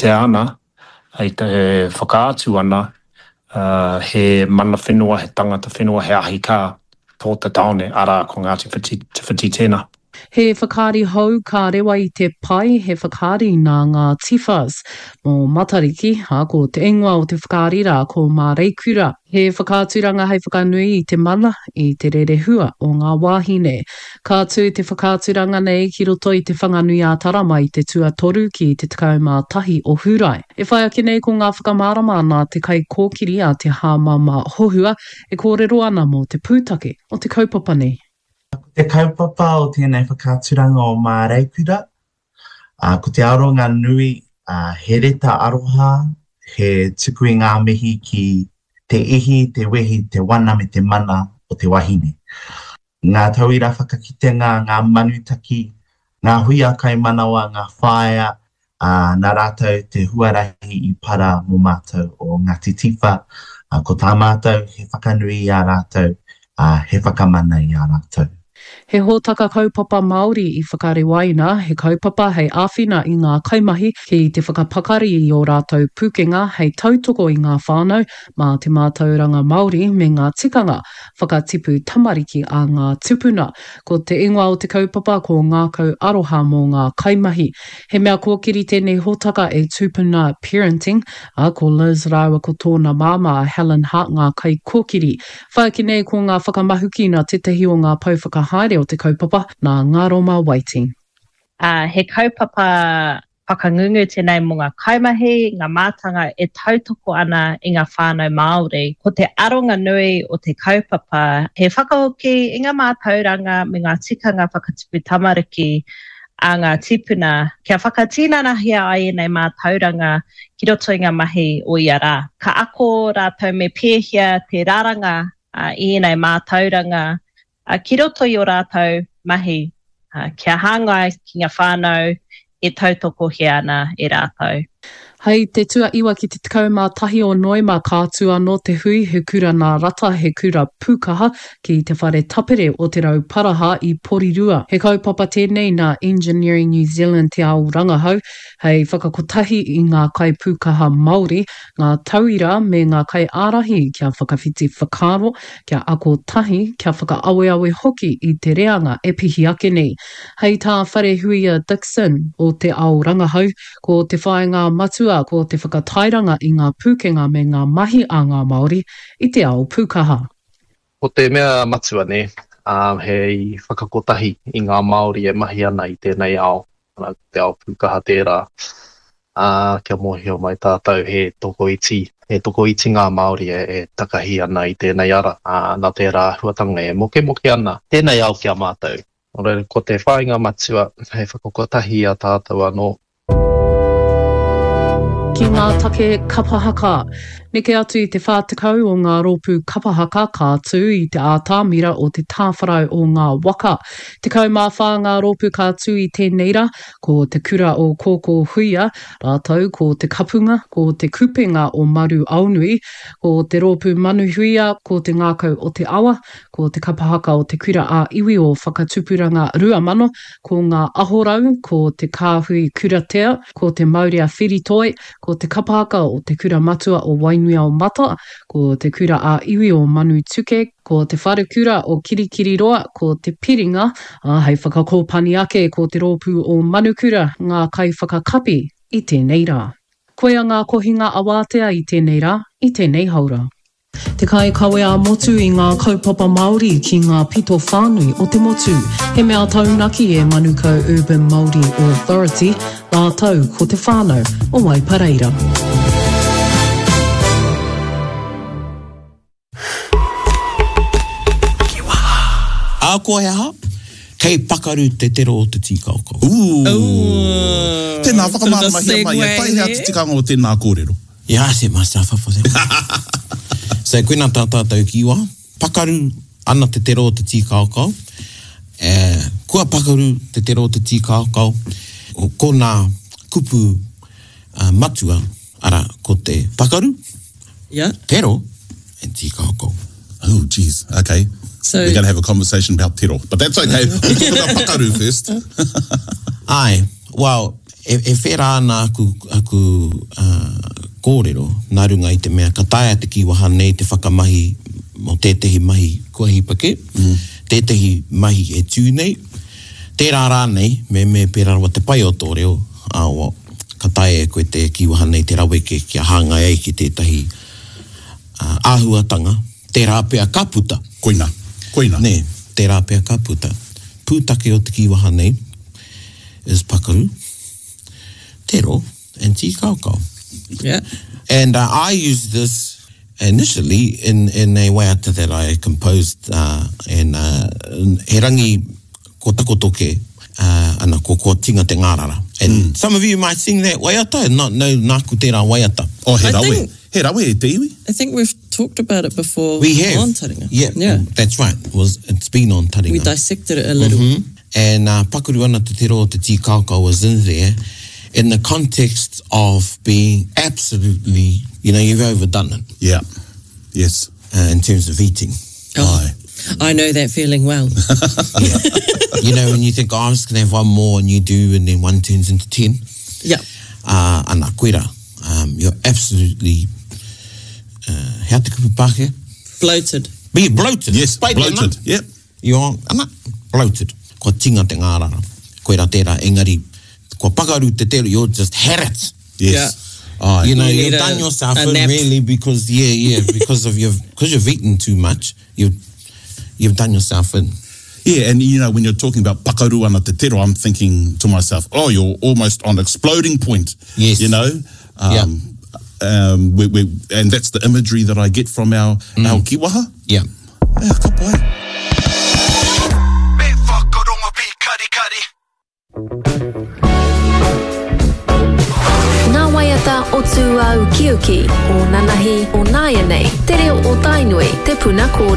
kitea ana, e whakaatu ana he mana whenua, he tangata whenua, he ahi kā tō te tāone, arā, ko Ngāti Whiti, Te Whiti tēnā. He whakaari hou ka rewa i te pae, he whakaari nā ngā Tifas. Mō Matariki, ā, ko te ingoa o te whakaari rā ko Māreikura. He whakaaturanga hei whakanui i te mana, i te rerehua o ngā wāhine. Ka tū te whakaaturanga nei ki roto i Te Whanganui-ā-Tara mai i te tuatoru ki te 11 o Hūrae. E whai ake nei ko ngā whakamārama nā te kaikōkiri a Te Hāmama Hohua e kōrero ana mō te pūtake o te kaupapa nei. Ko te kaupapa o tēnei whakaaturanga o Māreikura, ko te aronga nui he reta aroha, he tuku i ngā mihi ki te ihi, te wehi, te wana me te mana o te wahine. Ngā tauira whakakitenga, ngā manutaki, ngā huia kaimanawa, ngā whaea, ā, nā rātou te huarahi i para mō mātou o Ngāti Tiwha, ā, ko tā mātou he whakanui i a rātou, ā, he whakamana i a rātou. He hōtaka kaupapa Māori i whakarewaina, he kaupapa hei āwhina i ngā kaimahi ki te whakapakari i ō rātou pūkenga hei tautoko i ngā whānau mā te mātauranga Māori me ngā tikanga whakatipu tamariki a ngā tupuna. Ko te ingoa o te kaupapa ko Ngākau Aroha mō ngā Kaimahi. He mea kōkiri tēnei hōtaka e Tupuna Parenting, ā, ko Liz rāua ko tōna māmā a Helen Hart ngā kaikōkiri. Whāki nei ko ngā whakamahuki nā tētahi o ngā pou whakahaere o te kaupapa, nā Ngaroma Waiti. Ā, he kaupapa whakangungu tēnei mō ngā kaimahi, ngā mātanga e tautoko ana i ngā whānau Māori. Ko te aronga nui o te kaupapa he whakahoki i ngā mātauranga me ngā tikanga whakatipu tamariki a ngā tīpuna kia whakatinanahia ai ēnei mātauranga ki roto i ngā mahi o ia rā. Ka ako rātou me pēhea te raranga i ēnei mātauranga ki roto i ō rātou mahi kia hāngai ki ngā whānau e tautokohia ana e rātou. Hei te tuaiwa ki te 11 o Noema ka tū anō te hui He Kura Nā Rata, He Kura Pūkaha ki te Whare Tapere o Te Rauparaha i Porirua. He kaupapa tēnei nā Engineering New Zealand Te Ao Rangahau hei whakakotahi i ngā kaipūkaha Māori, ngā tauira me ngā kaiārahi kia whakawhiti whakaaro, kia ako tahi, kia whakaaweawe hoki i te reanga e pihi ake nei. Hei tā Wharehuia Dixon o Te Ao Rangahau, ko te whāinga matua ko te whakatairanga i ngā pūkenga me ngā mahi a ngā Māori i te ao pūkaha. Ko te mea matua nē, he whakakotahi i ngā Māori e mahi ana i tēnei ao, arā, ko te ao pūkaha tērā, ā, kia mōhio mai tātou he tokoiti, he tokoiti ngā Māori e takahi ana i tēnei ara, ā, nā tērā āhuatanga e mokemoke ana tēnei ao ki a mātou. Nō reira, ko te whāinga matua hei whakakotahi i a tātou anō. Ki ngā take kapa haka. Neke atu i te 40 o ngā rōpū kapa haka ka tū i te ātamira o te tāwharau o ngā waka. 14 ngā rōpū ka tū i tēnei rā, ko Te Kura o Kōkō Huia, rātou ko Te Kapunga, ko Te Kupenga o Maru Aonui, ko Te Rōpū Manuhuia, ko Te Ngākau o Te Awa, Ko te kapa haka o Te Kura ā Iwi o Whakatupuranga 2000, ko Ngā Ahorau, ko Te Kāhui Kuratea, ko Te Maurea Whiritoi, ko te kapa haka o Te Kura Matua o Wainuiaomata, ko Te Kura ā Iwi o Manutuke, ko Te Wharekura o Kirikiriroa, ko Te Piringa, ā, hei whakakōpani ake ko Te Rōpū o Manukura ngā kaiwhakakapi i tēnei rā. Koia ngā kohinga awātea i tēnei rā, i tēnei haora. Te kaikawe ā-motu i ngā kaupapa Māori ki ngā pito whānui o te motu. He mea taunaki e Manukau Urban Māori Authority rātou ko te whānau o Waipareira. Ahakoa he aha, kei pakaru te tero o te tīkaokao. Ooh. Tēnā, whakamāramahia mai, e taihea te tikanga o tēnā kōrero? Yeah, I set myself up for that one. So koina tā tātou ki wā, pakaru ana te tero o te tīkaokao, eh, kua pakaru te tero o te tīkaokao, ko nā kupu uh, matua, ara, ko te pakaru, yeah. tero, and tīkaokao. Oh, jeez, okay. So, We're going to have a conversation about tero, but that's okay. We'll talk about pakaru first. Ai, well, E, e whērā ana aku, aku uh, kōrero nā runga i te mea ka taea te kīwaha nei te whakamahi mō tētehi mahi kua hipa kē, mm. tētehi mahi e tū nei, tērā rānei, me, me pērā rawa te pai o tō reo, ā, ka taea e koe te kīwaha nei te raweke kia hāngai ai ki tētahi uh, āhuatanga, tērā pea ka puta. Koina, koina. Nē, tērā pea ka puta. Pūtake o te kīwaha nei is pakaru, tero, and tīkaokao. Yeah. And uh, I used this initially in, in a waiata that I composed uh, and uh, he rangi ko takoto ke, uh, ana ko kua tinga te ngārara. And mm. some of you might sing that waiata and not know nāku tērā waiata. Oh, he rawe. Think, he rawe e te iwi. I think we've talked about it before we have. on Taringa. Yeah, yeah. That's right. It was, it's been on Taringa. We dissected it a little. Mm -hmm. And uh, pakaru ana te tero o te tīkaokao was in there in the context of being absolutely, you know, you've overdone it. Yeah. Yes. Uh, in terms of eating. Oh, I know that feeling well. yeah. You know, when you think, oh, I'm just going to have one more, and you do, and then one turns into ten. Yeah. Uh, ana, koira. Um, you're absolutely, uh, hea te kupu Pākehā? Bloated. Be bloated. Yes, Pai bloated. Tēnā. Yep. You're, ana, bloated. Kua tinga te ngārara. Koira tērā, engari, kua pakaru te tero, you're just had it. Yes. Yeah. Aye. You know, You you need have done a- yourself a in nap. really because, yeah, yeah, because of your, because you've eaten too much, you've, you've done yourself in. Yeah, and you know, when you're talking about pakaru ana te tero, I'm thinking to myself, oh, you're almost on exploding point. Yes. You know? Um, um, we, we, and that's the imagery that I get from our, mm. our kiwaha. Yeah. Yeah, ka pai. Me whakarongo pīkarikari. Ngā waiata o Tūāukiuki, o nanahi, o nāianei, te reo o Tainui, te puna kōrero.